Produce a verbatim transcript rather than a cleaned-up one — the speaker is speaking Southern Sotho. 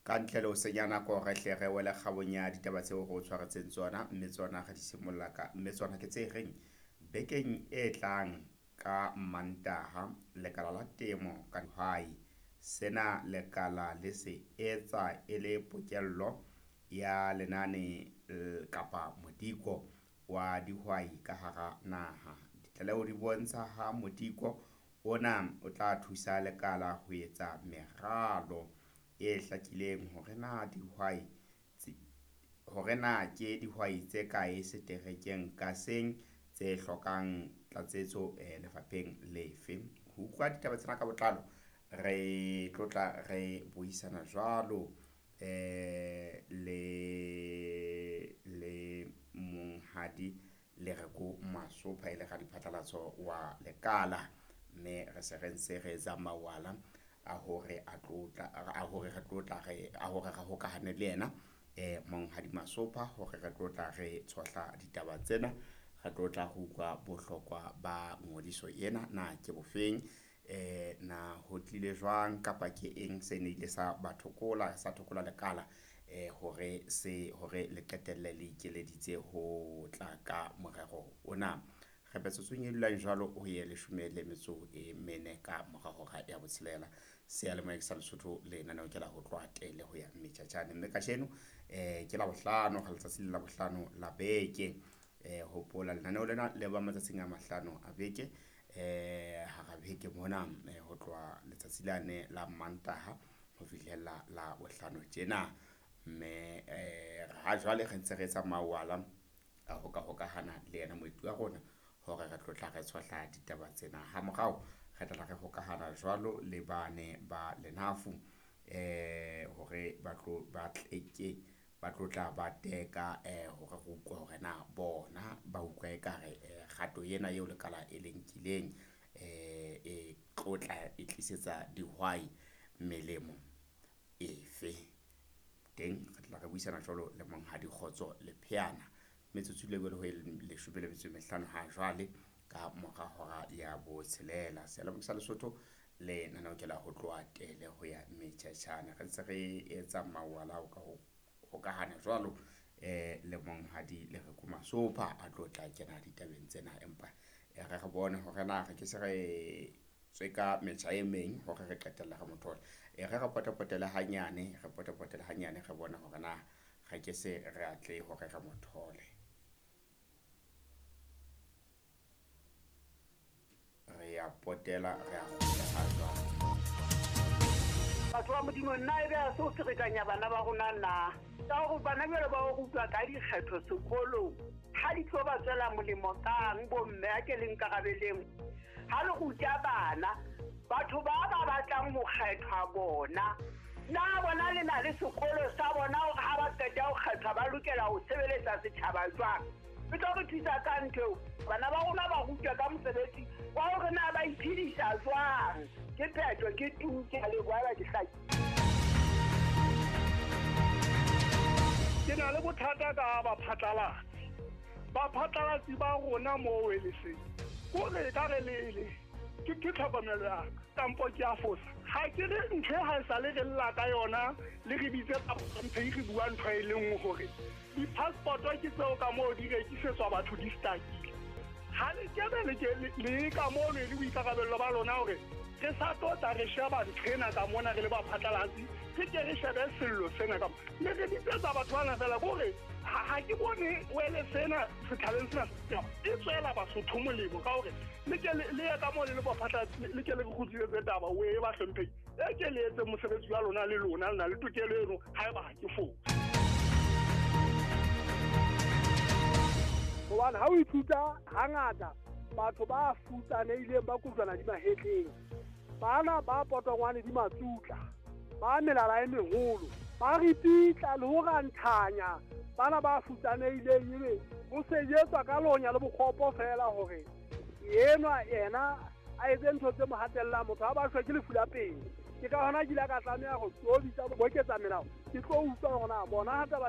Ka ntle le ho senya nako re hle re wele kgabong ya ditaba tseo re o tshwaretseng tsona, mme tsona re di simolla ka mme tsona ke tse reng bekeng e tlang ka Mantaha lekala la temo ka dihwai. Sena lekala le se etsa e le pokello ya lenane kapa modiko wa dihwai ka hara naha. Ditlaleho di bontsha ha modiko ona o tla thusa lekala ho etsa meralo e hlakileng hore na dihwai hore na ke dihwai tse kae seterekeng ka seng tse hlokang tlatsetso lefapheng lefe. Ho utlwa ditaba tsena ka botlalo re tlotla re buisana jwalo eh le le monghadi Lereko Masopha e le radiphatlalatso wa lekala, mme re se re ntse re etsa mawala a hore a tlotla a hore re tlotla re a hore re hokahane le yena eh monghadi Masopha hore re tlotla re tshohla ditaba tsena. Re tlotla re utlwa bohlokwa ba ngodiso ena na ke bofeng, eh na ho tlile jwang kapa ke eng se ne ile sa ba thokola sa thokola lekala eh hore se hore le qetelle le ikeleditse ho tla ka morero ona. Re metsotsong e dulang jwalo ho ye leshome le metso e mene ka mora hora ya botshelela. Seyalemoya sa Lesotho lenaneo ke la ho tloha tele ho ya Mmetjatjane, mme kajeno eh ke Labohlano, ga letsatsi le Labohlano la beke. Eh hopola lenaneo lena le ba matsatsing a mahlano a beke, eh hara beke mona ho tloha letsatsi lane la Mantaha ho fihlela la bohlano tjena. Mme eh ha jwale re ntse re etsa mawala a ho ka hokahana le yena moeti wa rona hore re tlotla re tshohla ditaba tsena. Ha morao re tla re hokahana jwalo le bane ba Lenafu eh hore ba tlo ba tleke ba tlotla ba teka eh hore re utlwe hore na bona ba utlwa ekare kgato ena eo lekala e le nkileng eh e tlotla e tlisetsa dihwai melemo efe. Teng re tla re buisana jwalo le monghadi Kgotso Lepheana. Metsotso le ho leshome le metso e mehlano ha jwale ka mora hora ya botshelela. Seyalemoya sa Lesotho lenaneo ke la ho tloha tele ho ya Mmetjatjane. Re ntse re etsa mawala ho ka hokahana jwalo eh le monghadi Lereko Masopha a tlo tla kena ditabeng tsena, empa re re bone hore na re ke se re tswe ka metjha e meng hore re qetella re mo thole. E re re potapotele hanyane, re potapotele hanyane re bone hore na re ke se re atle hore re mo thole. Re ya potela re a kgutla ha jwale. Batho ba Modimo, nna ebe a se o ferekanya bana ba rona na? Ka hore bana jwale ba o rutwa ka dikgetho sekolong, ha di tlo ba tswela molemo kang bomme a ke le nkarabeleng? Ha le ruta bana, batho ba ba batlang ho kgethwa bona, na bona le na le sekolo sa bona hore ha ba qeta ho kgethwa ba lokela ho sebeletsa setjhaba jwang? E tlo re thusa ka ntho eo. Bana ba rona ba rutwa ka mosebetsi wa hore na ba iphedisa jwang. Ke phetho, ke tu, ke a leboha ba ke hlaki. Ke na le bothata ka baphatlalatsi. Baphatlalatsi ba rona moo e le seng. Kore ka re le le ke ke tlhokomelo ya ka, kampo ke a fosa. Ha ke re ntho e ha e sale re lla ka yona, le re bitse ntho e re bua ntho e le nngwe hore di-passport ke tseo ka moo di rekisetswa batho di stakile. Ha le kebe le ke le ka moo le boikarabello ba lona hore re sa tlotla re sheba ntho ena ka mona re le baphatlalatsi, re ke re shebe sello sena ka mona. Mme re bitsetsa batho bana fela kore ha ke bone wele sena setjhabeng sena e tswela Basotho molemo ka hore le ke le ye ka moo le le baphatlalatsi, le ke le re kgutlisetse taba o e ba hlomphehile. E ke le etse mosebetsi wa lona le lona le na le tokelo eno haeba ha ke fose. Hobane ha o ithuta hangata batho ba futsanehileng ba kojwana di mahetleng, bana ba potongwane di matsutla, ba melala e meholo, ba ripitla le ho ranthanya bana ba futsanehileng, ebe ho sejetswa ka lonya le bokgopo fela hore enwa yena a etse ntho tse mo hatellang motho ha ba shwe ke lefu la pele. Ke ka hona ke ile ka tlameha ho tlo bitsa boketsa melao, ke tlo utlwa hore na bona ha taba